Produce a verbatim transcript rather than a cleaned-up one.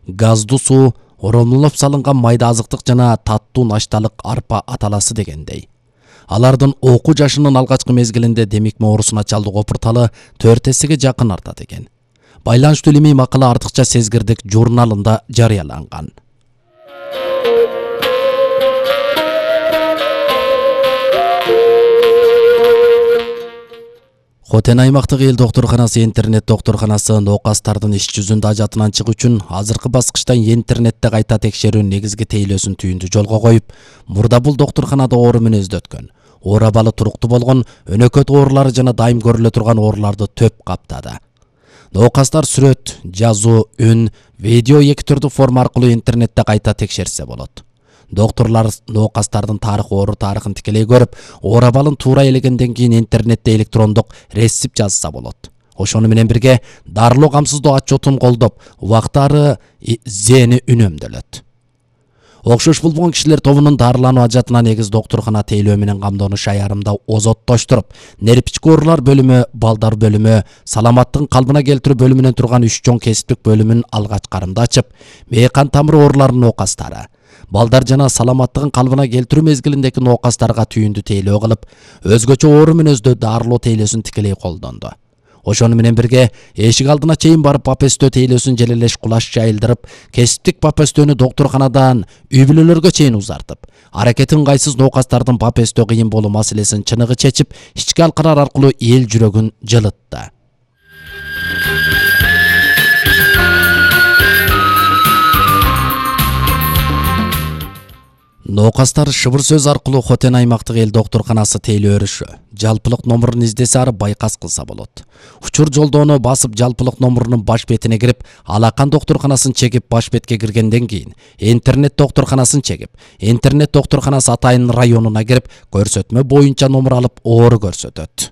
газдуу суу, оромлоп салынган майда азыктык жана таттуу нашталык арпа аталасы дегендей. Алардын окуу жашынын алгачкы мезгилинде демикме оорусуна чалдык опурталы төрт эсеге жакын артат экен. Байланыштуу илимий макала артыкча сезгирдик журналында жарыяланган. Хотен аймактык эл доктурканасы интернет доктурканасы ноокастардын иш жүзүндө ажатынан чыгуу үчүн азыркы баскычта интернетте кайта текшерүү негизги тейлөөсүн түйүндү жолго коюп, мурда бул доктурканада оору мүнөздө өткөн, оор абалы туруктуу болгон, өнөкөт оорулары жана дайым көрүлө турган ооруларды төп каптады. Ноокастар сүрөт, жазуу, үн, видео эки түрдүү форма аркылуу интернетте кайта текшерсе болот. Доктурлар ноокастардын тарых оору тарыхын тикелей көрүп, оор абалын туура элегенден кийин интернетте электрондук рецепт жазса болот. Ошону менен бирге дарылоо камсыздоо отчетун колдоп, убактары зени үнөмдөлөт. Окшош болбогон кишилер тобунун дарылануу ажатына негиз доктуркана тейлөө менен камдооnuş аярымда озоттоштуруп, нервички оорулар бөлүмү, балдар бөлүмү, саламаттыгын калыбына келтирүү бөлүмүнөн турган үч чоң кесиптик бөлүмүн алгач карымда ачып, мээкан тамыры ооруларынын ноокастары, балдар жана саламаттыгын калыбына келтирүү мезгилиндеги ноокастарга түйүндү тейлөө кылып, өзгөчө оору мүнөздө дарылоо тейлөөсүн тикелей колдонду. Ошону менен бирге эшик алдына чейин барып папестөө тейлөөсүн желелеш кулаш жайылдырып, кесиптик папестөөнү доктурканадан үй бүлөлөргө чейин узартып, аракети ыңгайсыз ноокастардын папестөө кыйын болуу маселесин чыныгы чечип, ички алкалар аркылуу эл жүрөгүн жылытты. Ноокастар шыбыр сөз аркылуу Хотен аймактык эл доктурканасы тейлөө өрүшү, жалпылык номурун издесе ары байкас кылса болот. Учур жолдоону басып жалпылык номурунун баш бетине кирип, алакан доктурканасын чегип баш бетке киргенден кийин интернет доктурканасын чегип, интернет доктурканасы атайын районуна кирип, көрсөтмө боюнча номур алып оору көрсөтөт.